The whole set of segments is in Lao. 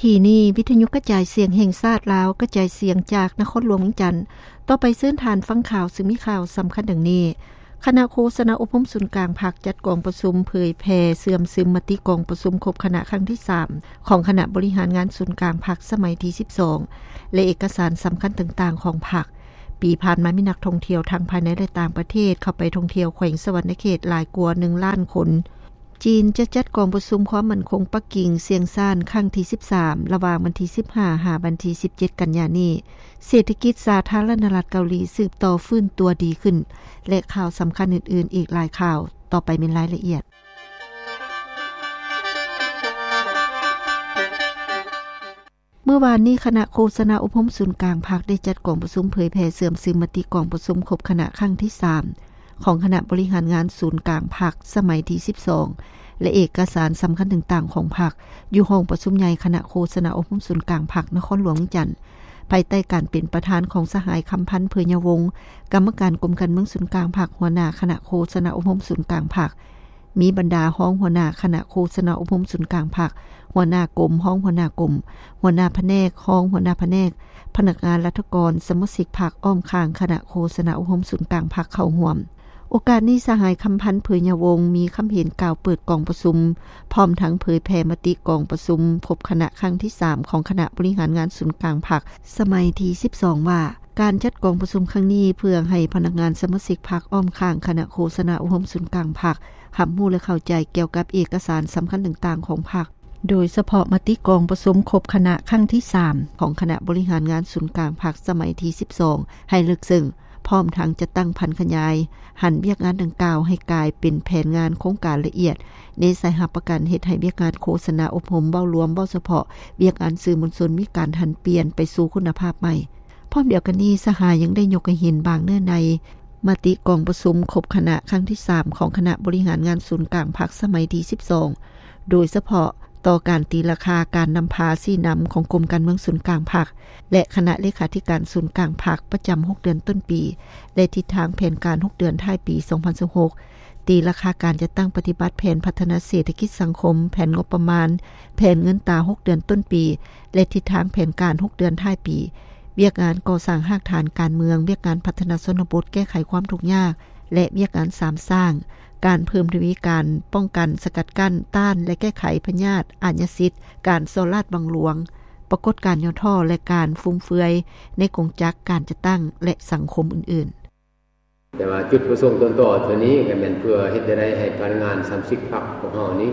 ທີ່ນີ້ ວິທະຍຸກະຈາຍສຽງແຫ່ງຊາດລາວ ກະຈາຍສຽງຈາກນະຄອນຫຼວງວຽງຈັນ. ຕໍ່ໄປເຊີນທ່ານຟັງຂ່າວ ຊຶ່ງມີຂ່າວສຳຄັນດັ່ງນີ້. ຄະນະໂຄສະນາອົບຮົມສູນກາງພັກ ຈັດກອງປະຊຸມເຜີຍແຜ່ເຊື່ອມຊຶມມະຕິກອງປະຊຸມຄົບຄະນະຄັ້ງທີສາມ ຂອງຄະນະບໍລິຫານງານສູນກາງພັກສະໄໝທີສິບສອງ ແລະ ເອກະສານສຳຄັນຕ່າງໆຂອງພັກ. ປີຜ່ານມາມີນັກທ່ອງທ່ຽວທັງພາຍໃນ ແລະ ຕ່າງປະເທດເຂົ້າໄປທ່ອງທ່ຽວແຂວງສະຫວັນນະເຂດຫຼາຍກວ່າໜຶ່ງລ້ານຄົນ. ຈີນຈະຈັດກອງປະຊຸມຄວາມໝັ້ນຄົງປັກກິ່ງຊຽງຊານຄັ້ງທີສິບສາມ ລະຫວ່າງວັນທີສິບຫ້າ ຫາວັນທີສິບເຈັດ ກັນຍານີ້. ເສດຖະກິດສາທາລະນະລັດເກົາຫຼີສືບຕໍ່ຟື້ນຕົວດີຂຶ້ນ ແລະ ຂ່າວສຳຄັນອື່ນໆອີກຫຼາຍຂ່າວ. ຕໍ່ໄປແມ່ນລາຍລະອຽດ. ເມື່ອວານນີ້ ຄະນະໂຄສະນາອົບຮົມສູນກາງພັກໄດ້ຈັດກອງປະຊຸມເຜີຍແຜ່ເຊື່ອມຊຶມມະຕິກອງປະຊຸມຄົບຄະນະຄັ້ງທີສາມ ຂອງຄະນະບໍລິຫານງານສູນກາງພັກສະໄໝທີສິບສອງ ແລະ ເອກະສານສຳຄັນຕ່າງໆຂອງພັກ ຢູ່ຫ້ອງປະຊຸມໃຫຍ່ຄະນະໂຄສະນາອົບຮົມສູນກາງພັກນະຄອນຫຼວງວຽງຈັນ, ພາຍໃຕ້ການເປັນປະທານຂອງສະຫາຍ ຄຳພັນ ເຜີຍຍາວົງ ກຳມະການກົມການເມືອງສູນກາງພັກ, ຫົວໜ້າຄະນະໂຄສະນາອົບຮົມສູນກາງພັກ. ມີບັນດາຮອງຫົວໜ້າຄະນະໂຄສະນາອົບຮົມສູນກາງພັກ, ຫົວໜ້າກົມ, ຮອງຫົວໜ້າກົມ, ຫົວໜ້າພະແນກ, ຮອງຫົວໜ້າພະແນກ, ພະນັກງານລັດຖະກອນ, ສະມາຊິກພັກອ້ອມຂ້າງຄະນະໂຄສະນາອົບຮົມສູນກາງພັກເຂົ້າຮ່ວມ. ໂອກາດນີ້ ສະຫາຍ ຄຳພັນ ເຜີຍຍາວົງ ມີຄຳເຫັນກ່າວເປີດກອງປະຊຸມ, ພ້ອມທັງເຜີຍແຜ່ມະຕິກອງປະຊຸມຄົບຄະນະຄັ້ງທີສາມ ຂອງຄະນະບໍລິຫານງານສູນກາງພັກສະໄໝທີສິບສອງ ວ່າ ການຈັດກອງປະຊຸມຄັ້ງນີ້ ເພື່ອໃຫ້ພະນັກງານສະມາຊິກພັກອ້ອມຂ້າງຄະນະໂຄສະນາອົບຮົມສູນກາງພັກ ຮັບຮູ້ ແລະ ເຂົ້າໃຈກ່ຽວກັບເອກະສານສຳຄັນຕ່າງໆຂອງພັກ, ໂດຍສະເພາະມະຕິກອງປະຊຸມຄົບຄະນະຄັ້ງທີສາມ ຂອງຄະນະບໍລິຫານງານສູນກາງພັກສະໄໝທີສິບສອງ ໃຫ້ເລິກເຊິ່ງ, ພ້ອມທັງຈັດຕັ້ງຜັນຂະຫຍາຍຫັນວຽກງານດັ່ງກ່າວໃຫ້ກາຍເປັນແຜນງານໂຄງການລະອຽດ, ແນໃສ່ຮັບປະກັນເຮັດໃຫ້ວຽກງານໂຄສະນາອົບຮົມເວົ້າລວມ, ເວົ້າສະເພາະ, ວຽກງານສື່ມວນຊົນມີການຫັນປ່ຽນໄປສູ່ຄຸນນະພາບໃໝ່. ພ້ອມດຽວກັນນີ້, ສະຫາຍຍັງໄດ້ຍົກໃຫ້ເຫັນບາງເນື້ອໃນມະຕິກອງປະຊຸມຄົບຄະນະຄັ້ງທີສາມ ຂອງຄະນະບໍລິຫານງານສູນກາງພັກສະໄໝທີສິບສອງ ໂດຍສະເພາະຕໍ່ການຕີລາຄາການນຳພາຊີ້ນຳຂອງກົມການເມືອງສູນກາງພັກ ແລະ ຄະນະເລຂາທິການສູນກາງພັກປະຈຳຫົກເດືອນຕົ້ນປີ ແລະ ທິດທາງແຜນການຫົກເດືອນທ້າຍປີສອງພັນຊາວຫົກ, ຕີລາຄາການຈັດຕັ້ງປະຕິບັດແຜນພັດທະນາເສດຖະກິດສັງຄົມ, ແຜນງົບປະມານ, ແຜນເງິນຕາຫົກເດືອນຕົ້ນປີ ແລະ ທິດທາງແຜນການຫົກເດືອນທ້າຍປີ, ວຽກງານກໍ່ສ້າງຮາກຖານການເມືອງ, ວຽກງານພັດທະນາຊົນນະບົດແກ້ໄຂຄວາມທຸກຍາກ ແລະ ວຽກງານສາມສ້າງ, ການເພີ່ມທະວີການປ້ອງກັນ, ສະກັດກັ້ນ, ຕ້ານ ແລະ ແກ້ໄຂພະຍາດອາຍາສິດ, ການສໍ້ລາດບັງຫຼວງ, ປາກົດການຫຍໍ້ທໍ້ ແລະ ການຟຸມເຟືອຍໃນກົງຈັກການຈັດຕັ້ງ ແລະ ສັງຄົມອື່ນໆ. ແຕ່ວ່າຈຸດປະສົງຕົ້ນຕໍເທື່ອນີ້ກໍແມ່ນເພື່ອເຮັດໃດໃຫ້ພະນັກງານສະມາຊິກພັກພວກເຮົານີ້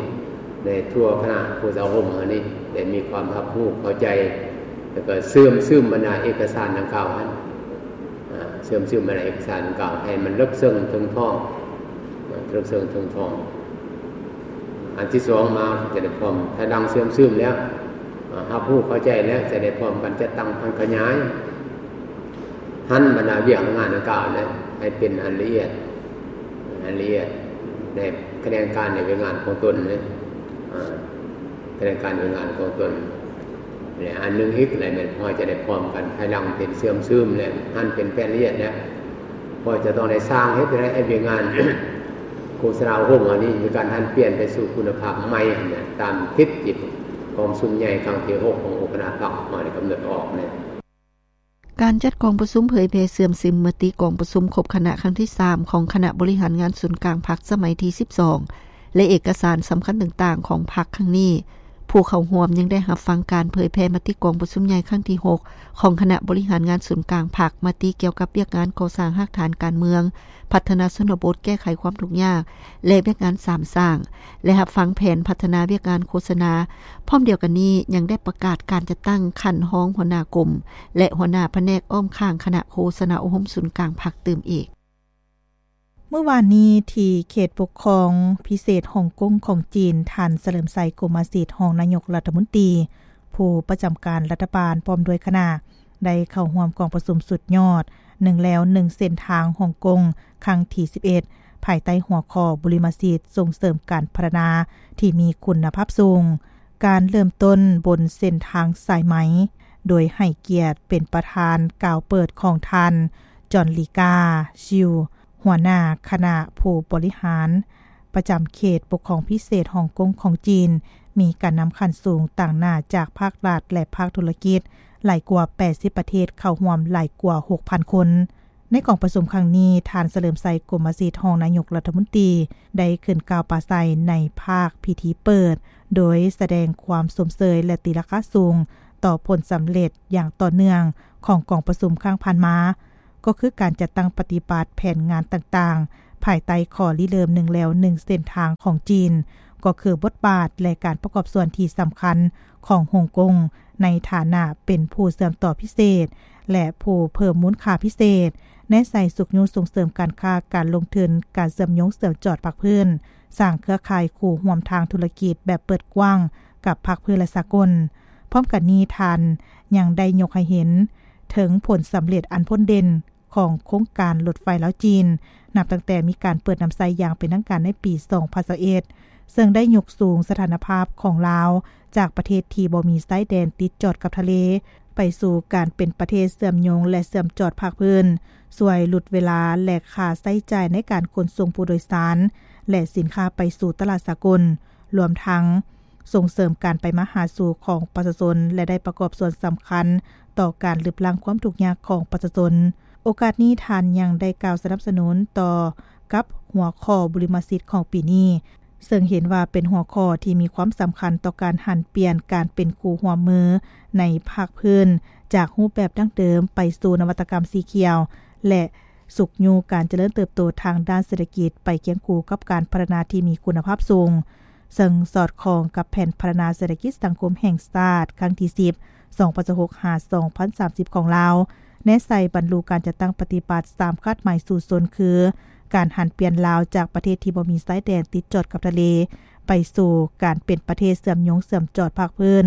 ໃນທົ່ວຄະນະໂຄສະນາອົບຮົມເຮົານີ້ ໄດ້ມີຄວາມຮັບຮູ້ເຂົ້າໃຈ ແລ້ວກໍເຊື່ອມຊຶມບັນດາເອກະສານດັ່ງກ່າວຫັ້ນ ອ່າ ເຊື່ອມຊຶມບັນດາເອກະສານດັ່ງກ່າວໃຫ້ມັນເລິກເຊິ່ງເຖິງທ້ອງ ເລິກເຊິ່ງເຖິງທ້ອງ. ອັນທີສອງມາຈະໄດ້ພ້ອມ ພາຍຫຼັງເຊື່ອມຊຶມແລ້ວ ອ່າ ຮັບຮູ້ເຂົ້າໃຈແລ້ວ ຈະໄດ້ພ້ອມກັນຈັດຕັ້ງຜັນຂະຫຍາຍ ຫັນບັນດາວຽກງານດັ່ງກ່າວນັ້ນໃຫ້ເປັນອັນລະອຽດ ອັນລະອຽດ ໃນຂະແໜງການ ໃນວຽກງານຂອງຕົນເດ້ ອາ ຂະແໜງການວຽກງານຂອງຕົນ. ແລະ ອັນໜຶ່ງອີກ ແລະ ແມ່ນພວກເຮົາຈະໄດ້ພ້ອມກັນ ພາຍຫຼັງເປັນເຊື່ອມຊຶມ ແລະ ຫັນເປັນແຜນລະອຽດແລ້ວ ພວກເຮົາຈະຕ້ອງໄດ້ສ້າງເຮັດໃຫ້ວຽກງານໂຄສະນາອົບຮົມເຮົານີ້ ມີການຫັນປ່ຽນໄປສູ່ຄຸນນະພາບໃໝ່ຫັ້ນນະ ຕາມທິດຈິດກອງປະຊຸມໃຫຍ່ຄັ້ງທີຫົກ ຂອງອົງຄະນະພັກເຮົາໄດ້ກຳນົດອອກນັ້ນ. ການຈັດກອງປະຊຸມເຜີຍແຜ່ເຊື່ອມຊຶມມະຕິກອງປະຊຸມຄົບຄະນະຄັ້ງທີສາມ ຂອງຄະນະບໍລິຫານງານສູນກາງພັກສະໄໝທີສິບສອງ ແລະ ເອກະສານສຳຄັນຕ່າງໆຂອງພັກຄັ້ງນີ້, ຜູ້ເຂົ້າຮ່ວມຍັງໄດ້ຮັບຟັງການເຜີຍແຜ່ມະຕິກອງປະຊຸມໃຫຍ່ຄັ້ງທີຫົກ ຂອງຄະນະບໍລິຫານງານສູນກາງພັກ, ມະຕິກ່ຽວກັບວຽກງານກໍ່ສ້າງຮາກຖານການເມືອງ, ພັດທະນາຊົນນະບົດ, ແກ້ໄຂຄວາມທຸກຍາກ ແລະ ວຽກງານສາມສ້າງ ແລະ ຮັບຟັງແຜນພັດທະນາວຽກງານໂຄສະນາ. ພ້ອມດຽວກັນນີ້ ຍັງໄດ້ປະກາດການຈັດຕັ້ງຂັ້ນຮອງຫົວໜ້າກົມ ແລະ ຫົວໜ້າພະແນກອ້ອມຂ້າງຄະນະໂຄສະນາອົບຮົມສູນກາງພັກຕື່ມອີກ. ເມື່ອວານນີ້ ທີ່ເຂດປົກຄອງພິເສດຮົງກົງຂອງຈີນ, ທ່ານ ສະເຫຼີມໄຊ ກົມມະສິດ ຮອງນາຍົກລັດຖະມົນຕີ ຜູ້ປະຈຳການລັດຖະບານ ພ້ອມດ້ວຍຄະນະ ໄດ້ເຂົ້າຮ່ວມກອງປະຊຸມສຸດຍອດ ໜຶ່ງແລວໜຶ່ງເສັ້ນທາງຮົງກົງ ຄັ້ງທີສິບເອັດ ພາຍໃຕ້ຫົວຂໍ້ ບຸລິມະສິດສົ່ງເສີມການພັດທະນາທີ່ມີຄຸນນະພາບສູງ, ການເລີ່ມຕົ້ນບົນເສັ້ນທາງສາຍໄໝ, ໂດຍໃຫ້ກຽດເປັນປະທານກ່າວເປີດຂອງທ່ານ ຈອນລີກາ ຊິວ ຫົວໜ້າຄະນະຜູ້ບໍລິຫານປະຈຳເຂດປົກຄອງພິເສດຮົງກົງຂອງຈີນ, ມີການນຳຂັ້ນສູງຕາງໜ້າຈາກພາກລັດ ແລະ ພາກທຸລະກິດ ຫຼາຍກວ່າ ແປດສິບ ປະເທດເຂົ້າຮ່ວມຫຼາຍກວ່າ ຫົກພັນ ຄົນ. ໃນກອງປະຊຸມຄັ້ງນີ້, ທ່ານ ສະເຫຼີມໄຊ ກົມມະສິດ ຮອງນາຍົກລັດຖະມົນຕີ ໄດ້ຂຶ້ນກ່າວປາໄສໃນພາກພິທີເປີດ, ໂດຍສະແດງຄວາມຊົມເຊີຍ ແລະ ຕີລາຄາສູງຕໍ່ຜົນສຳເລັດຢ່າງຕໍ່ເນື່ອງຂອງກອງປະຊຸມຄັ້ງຜ່ານມາ, ກໍຄືການຈັດຕັ້ງປະຕິບັດແຜນງານຕ່າງໆ ພາຍໃຕ້ຂໍ້ລິເລີ່ມ ໜຶ່ງແລວໜຶ່ງເສັ້ນທາງຂອງຈີນ, ກໍຄືບົດບາດ ແລະ ການປະກອບສ່ວນທີ່ສຳຄັນຂອງຮົງກົງ ໃນຖານະເປັນຜູ້ເຊື່ອມຕໍ່ພິເສດ ແລະ ຜູ້ເພີ່ມມູນຄ່າພິເສດ, ແນໃສ່ຊຸກຍູ້ສົ່ງເສີມການຄ້າການລົງທຶນ, ການເຊື່ອມໂຍງເຊື່ອມຈອດພາກພື້ນ, ສ້າງເຄືອຂ່າຍຄູ່ຮ່ວມທາງທຸລະກິດແບບເປີດກວ້າງກັບພາກພື້ນ ແລະ ສາກົນ. ພ້ອມກັນນີ້, ທ່ານຍັງໄດ້ຍົກໃຫ້ເຫັນເຖິງຜົນສຳເລັດອັນພົ້ນເດັ່ນຂອງໂຄງການລົດໄຟລາວ-ຈີນ, ນັບຕັ້ງແຕ່ມີການເປີດນຳໃຊ້ຢ່າງເປັນທາງການໃນປີ ສອງພັນຊາວເອັດ ເຊິ່ງໄດ້ຍົກສູງສະຖານະພາບຂອງລາວ ຈາກປະເທດທີ່ບໍ່ມີຊາຍແດນຕິດຈອດກັບທະເລ ໄປສູ່ການເປັນປະເທດເຊື່ອມໂຍງ ແລະ ເຊື່ອມຈອດພາກພື້ນ, ຊ່ວຍຫຼຸດເວລາ ແລະ ຄ່າໃຊ້ຈ່າຍໃນການຂົນສົ່ງຜູ້ໂດຍສານ ແລະ ສິນຄ້າໄປສູ່ຕະຫຼາດສາກົນ, ລວມທັງສົ່ງເສີມການໄປມາຫາສູ່ຂອງປະຊາຊົນ ແລະ ໄດ້ປະກອບສ່ວນສຳຄັນຕໍ່ການລຶບລ້າງຄວາມທຸກຍາກຂອງປະຊາຊົນ. ໂອກາດນີ້, ທ່ານຍັງໄດ້ກ່າວສະໜັບສະໜູນຕໍ່ກັບຫົວຂໍ້ບຸລິມະສິດຂອງປີນີ້, ເຊິ່ງເຫັນວ່າເປັນຫົວຂໍ້ທີ່ມີຄວາມສຳຄັນຕໍ່ການຫັນປ່ຽນການເປັນຄູ່ຮ່ວມມືໃນພາກພື້ນ, ຈາກຮູບແບບດັ້ງເດີມໄປສູ່ນະວັດຕະກຳສີຂຽວ ແລະ ຊຸກຍູ້ການຈະເລີນເຕີບໂຕທາງດ້ານເສດຖະກິດ ໄປຄຽງຄູ່ກັບການພັດທະນາທີ່ມີຄຸນນະພາບສູງ, ເຊິ່ງສອດຄ່ອງກັບແຜນພັດທະນາເສດຖະກິດສັງຄົມແຫ່ງຊາດຄັ້ງທີສິບ ສອງພັນຊາວຫົກ ຫາ ສອງພັນສາມສິບ ຂອງລາວ, ແນໃສ່ບັນລຸການຈັດຕັ້ງປະຕິບັດສາມຄາດໝາຍສູ້ຊົນ ຄື ການຫັນປ່ຽນລາວຈາກປະເທດທີ່ບໍ່ມີຊາຍແດນຕິດຈອດກັບທະເລ ໄປສູ່ການເປັນປະເທດເຊື່ອມໂຍງເຊື່ອມຈອດພາກພື້ນ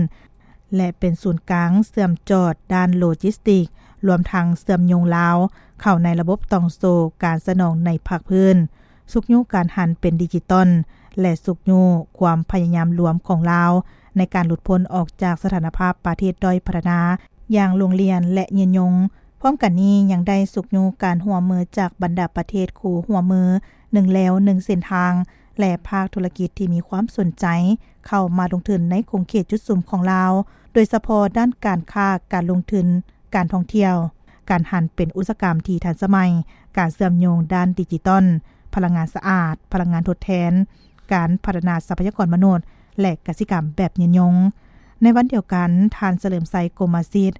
ແລະ ເປັນສູນກາງເຊື່ອມຈອດດ້ານໂລຈິສຕິກ, ລວມທັງເຊື່ອມໂຍງລາວເຂົ້າໃນລະບົບຕ່ອງໂສ້ການສະໜອງໃນພາກພື້ນ, ຊຸກຍູ້ການຫັນເປັນດິຈິຕອນ ແລະ ຊຸກຍູ້ຄວາມພະຍາຍາມລວມຂອງລາວໃນການຫຼຸດພົ້ນອອກຈາກສະຖານະພາບປະເທດດ້ອຍພັດທະນາ ຢ່າງຫຼວງຫຼຽນ ແລະ ຍືນຍົງ. ພ້ອມກັນນີ້ຍັງໄດ້ຊຸກຍູ້ການຮ່ວມມືຈາກບັນດາປະເທດຄູ່ຮ່ວມມື ໜຶ່ງແລວໜຶ່ງເສັ້ນທາງ ແລະ ພາກທຸລະກິດທີ່ມີຄວາມສົນໃຈເຂົ້າມາລົງທຶນໃນຂົງເຂດຈຸດສຸມຂອງລາວ, ໂດຍສະເພາະດ້ານການຄ້າ, ການລົງທຶນ, ການທ່ອງທ່ຽວ, ການຫັນເປັນອຸດສາຫະກຳທີ່ທັນສະໄໝ, ການເຊື່ອມໂຍງດ້ານດິຈິຕອນ, ພະລັງງານສະອາດ, ພະລັງງານທົດແທນ, ການພັດທະນາຊັບພະຍາກອນມະນຸດ ແລະ ກະສິກຳແບບຍືນຍົງ. ໃນວັນດຽວກັນ, ທ່ານ ສະເຫຼີມໄຊ ກົມມະສິດ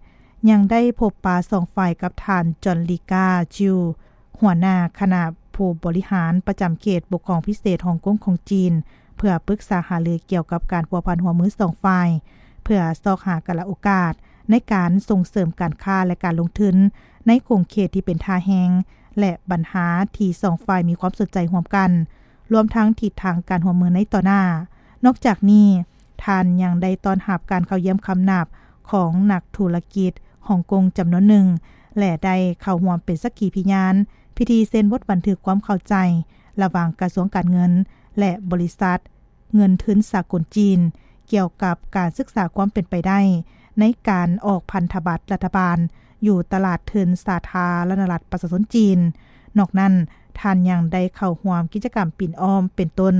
ຍັງໄດ້ພົບປະສອງຝ່າຍກັບທ່ານ ຈອນລີກາ ຈິວ ຫົວໜ້າຄະນະຜູ້ບໍລິຫານປະຈຳເຂດປົກຄອງພິເສດຮົງກົງຂອງຈີນ ເພື່ອປຶກສາຫາລືກ່ຽວກັບການພົວພັນຮ່ວມມືສອງຝ່າຍ ເພື່ອຊອກຫາກາລະໂອກາດໃນການສົ່ງເສີມການຄ້າ ແລະ ການລົງທຶນໃນຂົງເຂດທີ່ເປັນທ່າແຮງ ແລະ ບັນຫາທີ່ສອງຝ່າຍມີຄວາມສົນໃຈຮ່ວມກັນ, ລວມທັງທິດທາງການຮ່ວມມືໃນຕໍ່ໜ້າ. ນອກຈາກນີ້, ທ່ານຍັງໄດ້ຕ້ອນຮັບການເຂົ້າຢ້ຽມຄຳນັບຂອງນັກທຸລະກິດຮົງກົງຈຳນວນໜຶ່ງ ແລະ ໄດ້ເຂົ້າຮ່ວມເປັນສັກຂີພິຍານພິທີເຊັນບົດບັນທຶກຄວາມເຂົ້າໃຈລະຫວ່າງກະຊວງການເງິນ ແລະ ບໍລິສັດເງິນທຶນສາກົນຈີນ ກ່ຽວກັບການສຶກສາຄວາມເປັນໄປໄດ້ໃນການອອກພັນທະບັດລັດຖະບານຢູ່ຕະຫຼາດທຶນສາທາລະນະລັດປະຊາຊົນຈີນ. ນອກນັ້ນ, ທ່ານຍັງໄດ້ເຂົ້າຮ່ວມກິດຈະກຳປິ່ນອ້ອມ ເປັນຕົ້ນ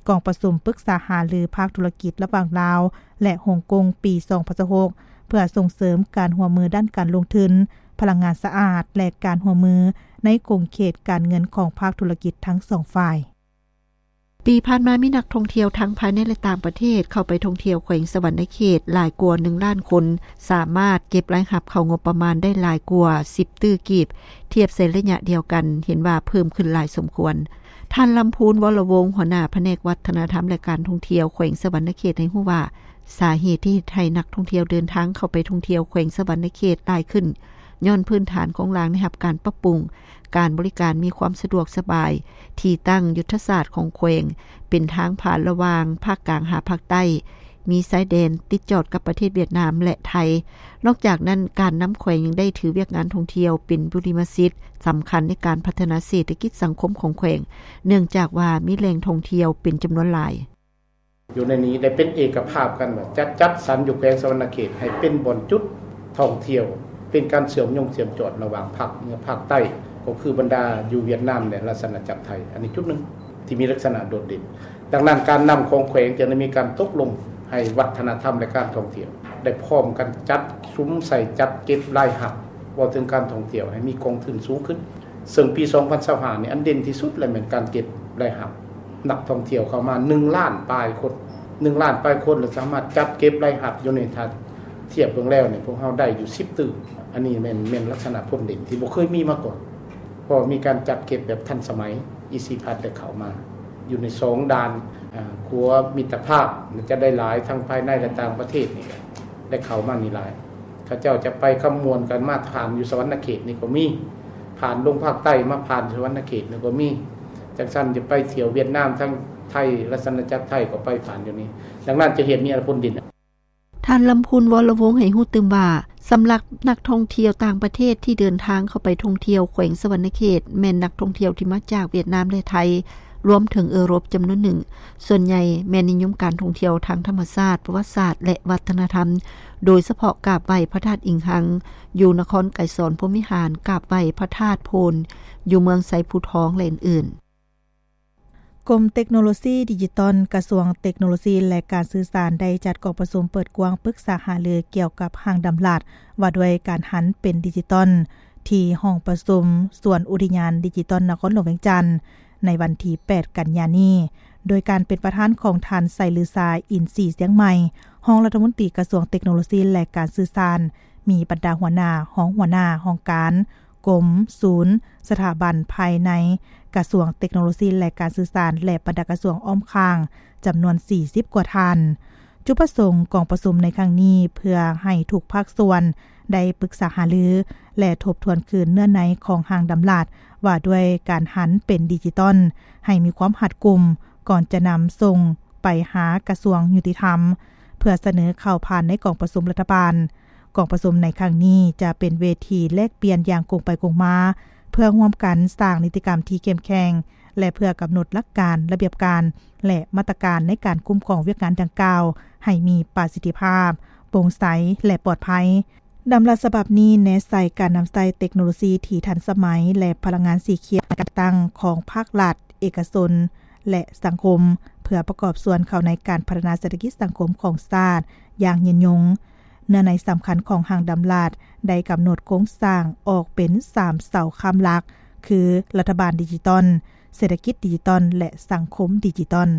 ກອງປະຊຸມປຶກສາຫາລືພາກທຸລະກິດລະຫວ່າງລາວ ແລະ ຮົງກົງປີສອງພັນຊາວຫົກ ເພື່ອສົ່ງເສີມການຮ່ວມມືດ້ານການລົງທຶນ, ພະລັງງານສະອາດ ແລະ ການຮ່ວມມືໃນຂົງເຂດການເງິນຂອງພາກທຸລະກິດທັງສອງຝ່າຍ. ປີຜ່ານມາມີນັກທ່ອງທ່ຽວທັງພາຍໃນ ແລະ ຕ່າງປະເທດເຂົ້າໄປທ່ອງທ່ຽວແຂວງສະຫວັນນະເຂດຫຼາຍກວ່າໜຶ່ງລ້ານຄົນ, ສາມາດເກັບລາຍຮັບເຂົ້າງົບປະມານໄດ້ຫຼາຍກວ່າສິບຕື້ກີບ, ທຽບໃສ່ໄລຍະດຽວກັນເຫັນວ່າເພີ່ມຂຶ້ນຫຼາຍສົມຄວນ. ທ່ານ ລຳພູນ ວໍລະວົງ ຫົວໜ້າພະແນກວັດທະນະທຳ ແລະ ການທ່ອງທ່ຽວແຂວງສະຫວັນນະເຂດ ໃຫ້ຮູ້ວ່າ ສາເຫດທີ່ເຮັດໃຫ້ນັກທ່ອງທ່ຽວເດີນທາງເຂົ້າໄປທ່ອງທ່ຽວແຂວງສະຫວັນນະເຂດຫຼາຍຂຶ້ນ ຍ້ອນພື້ນຖານໂຄງລ່າງໄດ້ຮັບການປັບປຸງ, ການບໍລິການມີຄວາມສະດວກສະບາຍ, ທີ່ຕັ້ງຍຸດທະສາດຂອງແຂວງ ເປັນທາງຜ່ານລະຫວ່າງພາກກາງຫາພາກໃຕ້, ມີຊາຍແດນຕິດຈອດກັບປະເທດຫວຽດນາມ ແລະ ໄທ. ນອກຈາກນັ້ນ, ການນຳແຂວງຍັງໄດ້ຖືວຽກງານທ່ອງທ່ຽວເປັນບຸລິມະສິດສຳຄັນໃນການພັດທະນາເສດຖະກິດສັງຄົມຂອງແຂວງ, ເນື່ອງຈາກວ່າມີແຫຼ່ງທ່ອງທ່ຽວເປັນຈຳນວນຫຼາຍ. ຢູ່ໃນນີ້ໄດ້ເປັນເອກະພາບກັນວ່າ ຈະຈັດສັນຢູ່ແຂວງສະຫວັນນະເຂດໃຫ້ເປັນບ່ອນຈຸດທ່ອງທ່ຽວ, ເປັນການເຊື່ອມໂຍງເຊື່ອມຈອດລະຫວ່າງພາກເໜືອພາກໃຕ້, ກໍຄືບັນດາຢູ່ຫວຽດນາມ ແລະ ລາຊະອານາຈັກໄທ. ອັນນີ້ຈຸດໜຶ່ງທີ່ມີລັກສະນະໂດດເດັ່ນ. ດັ່ງນັ້ນ, ການນຳຂອງແຂວງຈຶ່ງໄດ້ມີການຕົກລົງ ໃຫ້ວັດທະນະທຳ ແລະ ການທ່ອງທ່ຽວ ໄດ້ພ້ອມກັນຈັດສຸມໃສ່ຈັດເກັບລາຍຮັບ ເວົ້າເຖິງການທ່ອງທ່ຽວໃຫ້ມີກອງທຶນສູງຂຶ້ນ. ເຊິ່ງປີສອງພັນຊາວຫ້ານີ້ ອັນເດັ່ນທີ່ສຸດແລ້ວແມ່ນການເກັບລາຍຮັບ ນັກທ່ອງທ່ຽວເຂົ້າມາໜຶ່ງລ້ານປາຍຄົນ, ໜຶ່ງລ້ານປາຍຄົນ ແລ້ວສາມາດຈັດເກັບລາຍຮັບຢູ່ໃນ ຖ້າທຽບເບິ່ງແລ້ວນີ້ ພວກເຮົາໄດ້ຢູ່ສິບຕື້. ອັນນີ້ແມ່ນ ແມ່ນລັກສະນະຜົນເດັ່ນທີ່ບໍ່ເຄີຍມີມາກ່ອນ ເພາະມີການຈັດເກັບແບບທັນສະໄໝ. ອີ ຊີ ພັດ ໄດ້ເຂົ້າມາຢູ່ໃນສອງດ່ານ ອາ ຂົວມິດຕະພາບ ຈະໄດ້ຫຼາຍທັງພາຍໃນ ແລະ ຕ່າງປະເທດນີ້ ໄດ້ເຂົ້າມານີ້ຫຼາຍ. ເຂົາເຈົ້າຈະໄປຄຳມ່ວນກັນ ມາຜ່ານຢູ່ສະຫວັນນະເຂດນີ້ກໍມີ, ຜ່ານລົງພາກໃຕ້ມາຜ່ານສະຫວັນນະເຂດນີ້ກໍມີ. ຈັ່ງຊັ້ນຈະໄປທ່ຽວຫວຽດນາມ ທາງໄທ ລາຊະອານາຈັກໄທກໍໄປຜ່ານຢູ່ນີ້. ດັ່ງນັ້ນຈະເຮັດມີຜົນເດັ່ນ. ທ່ານ ລຳພູນ ວໍລະວົງ ໃຫ້ຮູ້ຕື່ມວ່າ ສຳລັບນັກທ່ອງທ່ຽວຕ່າງປະເທດທີ່ເດີນທາງເຂົ້າໄປທ່ອງທ່ຽວແຂວງສະຫວັນນະເຂດ ແມ່ນນັກທ່ອງທ່ຽວທີ່ມາຈາກຫວຽດນາມ ແລະ ໄທ ລວມເຖິງເອີຣົບຈຳນວນໜຶ່ງ. ສ່ວນໃຫຍ່ແມ່ນນິຍົມການທ່ອງທ່ຽວທາງທຳມະຊາດ, ປະຫວັດສາດ ແລະ ວັດທະນະທຳ, ໂດຍສະເພາະກາບໄຫວ້ພະທາດອິງຮັງ ຢູ່ນະຄອນໄກສອນພົມວິຫານ, ກາບໄຫວ້ພະທາດໂພນ ຢູ່ເມືອງໄຊພູທອງ ແລະ ອື່ນໆ. ກົມເຕັກໂນໂລຊີດິຈິຕອນ ກະຊວງເຕັກໂນໂລຊີ ແລະ ການສື່ສານ ໄດ້ຈັດກອງປະຊຸມເປີດກວ້າງປຶກສາຫາລືກ່ຽວກັບຮ່າງດຳລັດວ່າດ້ວຍການຫັນເປັນດິຈິຕອນ ທີ່ຫ້ອງປະຊຸມສວນອຸທິຍານດິຈິຕອນນະຄອນຫຼວງວຽງຈັນ ໃນວັນທີແປດ ກັນຍານີ້ ໂດຍການເປັນປະທານຂອງທ່ານ ໄຊລືຊາ ອິນສີຊຽງໃໝ່ ຮອງລັດຖະມົນຕີກະຊວງເຕັກໂນໂລຊີ ແລະ ການສື່ສານ, ມີບັນດາຫົວໜ້າ, ຮອງຫົວໜ້າຫ້ອງການ, ກົມ, ສູນ, ສະຖາບັນພາຍໃນກະຊວງເຕັກໂນໂລຊີ ແລະ ການສື່ສານ ແລະ ບັນດາກະຊວງອ້ອມຂ້າງ ຈຳນວນສີ່ສິບກວ່າທ່ານ. ຈຸດປະສົງກອງປະຊຸມໃນຄັ້ງນີ້ ເພື່ອໃຫ້ທຸກພາກສ່ວນໄດ້ປຶກສາຫາລື ແລະ ທົບທວນຄືນເນື້ອໃນຂອງຮ່າງດຳລັດວ່າດ້ວຍການຫັນເປັນດິຈິຕອນ ໃຫ້ມີຄວາມຮັດກຸມ ກ່ອນຈະນຳສົ່ງໄປຫາກະຊວງຍຸຕິທຳ ເພື່ອສະເໜີເຂົ້າຜ່ານໃນກອງປະຊຸມລັດຖະບານ. ກອງປະຊຸມໃນຄັ້ງນີ້ຈະເປັນເວທີແລກປ່ຽນຢ່າງກົງໄປກົງມາ ເພື່ອຮ່ວມກັນສ້າງນິຕິກຳທີ່ເຂັ້ມແຂງ ແລະ ເພື່ອກຳນົດຫຼັກການ, ລະບຽບການ ແລະ ມາດຕະການໃນການຄຸ້ມຄອງວຽກງານດັ່ງກ່າວໃຫ້ມີປະສິດທິພາບ, ໂປ່ງໃສ ແລະ ປອດໄພ. ດຳລັດສະບັບນີ້ແນໃສ່ການນຳໃຊ້ເຕັກໂນໂລຊີທີ່ທັນສະໄໝ ແລະ ພະລັງງານສີຂຽວໃນການຈັດຕັ້ງຂອງພາກລັດ, ເອກະຊົນ ແລະ ສັງຄົມ ເພື່ອປະກອບສ່ວນເຂົ້າໃນການພັດທະນາເສດຖະກິດສັງຄົມຂອງຊາດຢ່າງຍືນຍົງ. ເນື້ອໃນສຳຄັນຂອງຮ່າງດຳລັດໄດ້ກຳນົດໂຄງສ້າງອອກເປັນສາມເສົາຄ້ຳຫຼັກ ຄື ລັດຖະບານດິຈິຕອນ, ເສດຖະກິດດິຈິຕອນ ແລະ ສັງຄົມດິຈິຕອນ.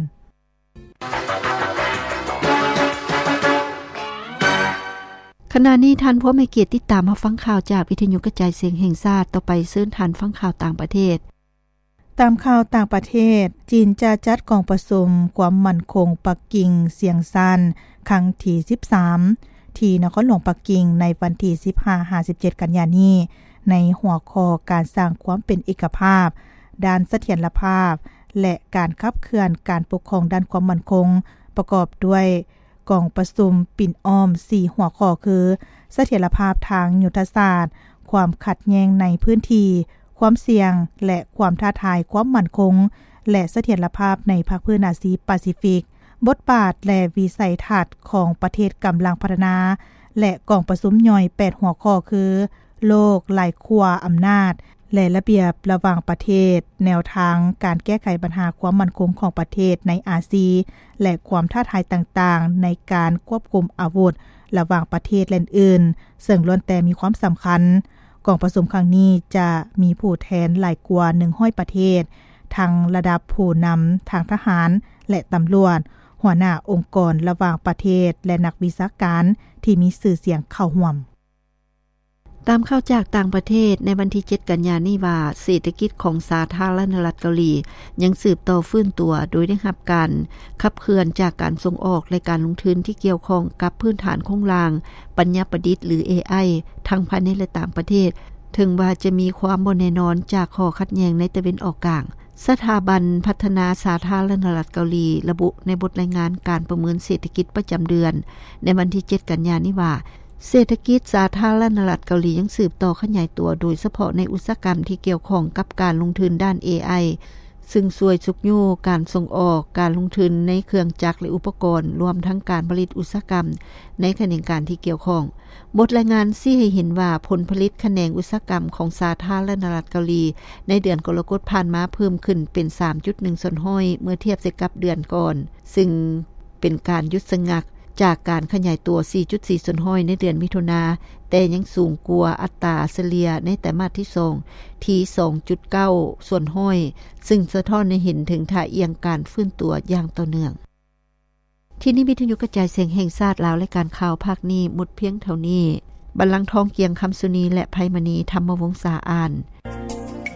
ຂະນະນີ້ທ່ານຜູ້ໃຫ້ກຽດຕິດຕາມຮັບຟັງຂ່າວຈາກວິທະຍຸກະຈາຍສຽງແຫ່ງຊາດ. ຕໍ່ໄປເຊີນທ່ານຟັງຂ່າວຕ່າງປະເທດ. ຕາມຂ່າວຕ່າງປະເທດ, ຈີນຈະຈັດກອງປະຊຸມຄວາມໝັ້ນຄົງປັກກິ່ງຊຽງຊານຄັ້ງທີສິບສາມ ທີ່ນະຄອນຫຼວງປັກກິ່ງໃນວັນທີສິບຫ້າຫາສິບເຈັດ ກັນຍານີ້ ໃນຫົວຂໍ້ການສ້າງຄວາມເປັນເອກະພາບດ້ານສະຖຽນລະພາບ ແລະ ການຂັບເຄື່ອນການປົກຄອງດ້ານຄວາມໝັ້ນຄົງ ປະກອບດ້ວຍ ກອງປະຊຸມປິ່ນອ້ອມສີ່ຫົວຂໍ້ຄື ສະຖຽນລະພາບທາງຍຸດທະສາດ, ຄວາມຂັດແຍ່ງໃນພື້ນທີ່, ຄວາມສ່ຽງ ແລະ ຄວາມທ້າທາຍຄວາມໝັ້ນຄົງ ແລະ ສະຖຽນລະພາບໃນພາກພື້ນອາຊີປາຊີຟິກ. ບົດບາດ ແລະ ວິໄສທັດຂອງປະເທດກຳລັງພັດທະນາ ແລະ ກອງປະຊຸມຍ່ອຍແປດຫົວຂໍ້ຄື ໂລກຫຼາຍຂົ້ວອຳນາດ ແລະ ລະບຽບລະຫວ່າງປະເທດ, ແນວທາງການແກ້ໄຂບັນຫາຄວາມໝັ້ນຄົງຂອງປະເທດໃນອາຊີ ແລະ ຄວາມທ້າທາຍຕ່າງໆໃນການຄວບຄຸມອາວຸດລະຫວ່າງປະເທດ ແລະ ອື່ນໆ ເຊິ່ງລ້ວນແຕ່ມີຄວາມສຳຄັນ. ກອງປະຊຸມຄັ້ງນີ້ຈະມີຜູ້ແທນຫຼາຍກວ່າໜຶ່ງຮ້ອຍປະເທດ, ທັງລະດັບຜູ້ນຳທາງທະຫານ ແລະ ຕຳຫຼວດ, ຫົວໜ້າອົງກອນລະຫວ່າງປະເທດ ແລະ ນັກວິຊາການທີ່ມີຊື່ສຽງເຂົ້າຮ່ວມ. ຕາມຂ່າວຈາກຕ່າງປະເທດໃນວັນທີເຈັດ ກັນຍານີ້ວ່າ ເສດຖະກິດຂອງສາທາລະນະລັດເກົາຫຼີຍັງສືບຕໍ່ຟື້ນຕົວ ໂດຍໄດ້ຮັບການຂັບເຄື່ອນຈາກການສົ່ງອອກ ແລະ ການລົງທຶນທີ່ກ່ຽວຂ້ອງກັບພື້ນຖານໂຄງລ່າງປັນຍາປະດິດ ຫຼື ເອໄອ ທັງພາຍໃນ ແລະ ຕ່າງປະເທດ, ເຖິງວ່າຈະມີຄວາມບໍ່ແນ່ນອນຈາກຂໍ້ຂັດແຍ່ງໃນຕາເວັນອອກກາງ. ສະຖາບັນພັດທະນາສາທາລະນະລັດເກົາຫຼີລະບຸໃນບົດລາຍງານການປະເມີນເສດຖະກິດປະຈຳເດືອນໃນວັນທີເຈັດ ກັນຍານີ້ວ່າ ເສດຖະກິດສາທາລະນະລັດເກົາຫຼີຍັງສືບຕໍ່ຂະຫຍາຍຕົວ, ໂດຍສະເພາະໃນອຸດສາຫະກຳທີ່ກ່ຽວຂ້ອງກັບການລົງທຶນດ້ານເອໄອ, ຊຶ່ງຊ່ວຍຊຸກຍູ້ການສົ່ງອອກ, ການລົງທຶນໃນເຄື່ອງຈັກ ແລະ ອຸປະກອນ, ລວມທັງການຜະລິດອຸດສາຫະກຳໃນຂະແໜງການທີ່ກ່ຽວຂ້ອງ. ບົດລາຍງານຊີ້ໃຫ້ເຫັນວ່າ ຜົນຜະລິດຂະແໜງອຸດສາຫະກຳຂອງສາທາລະນະລັດເກົາຫຼີ ໃນເດືອນກໍລະກົດຜ່ານມາເພີ່ມຂຶ້ນເປັນສາມຈຸດໜຶ່ງສ່ວນຮ້ອຍ ເມື່ອທຽບໃສ່ກັບເດືອນກ່ອນ, ຊຶ່ງເປັນການຢຸດຊະງັກ ຈາກການຂະຫຍາຍຕົວ ສີ່ຈຸດສີ່ສ່ວນຮ້ອຍ ໃນເດືອນມິຖຸນາ, ແຕ່ຍັງສູງກວ່າອັດຕາສະເລ່ຍໃນໄຕມາດທີສອງ ທີ່ ສອງຈຸດເກົ້າສ່ວນຮ້ອຍ ຊຶ່ງສະທ້ອນໃຫ້ເຫັນເຖິງທ່າອ່ຽງການຟື້ນຕົວຢ່າງຕໍ່ເນື່ອງ. ທີ່ນີ້ວິທຍຸກະຈາຍສຽງແຫ່ງຊາດລາວ ລາຍການຂ່າວພາກນີ້ໝົດພຽງເທົ່ານີ້. ບັນລັງທອງ ກຽງຄຳສຸນີ ແລະ ໄພມະນີ ທຳມະວົງສາ ອ່ານ.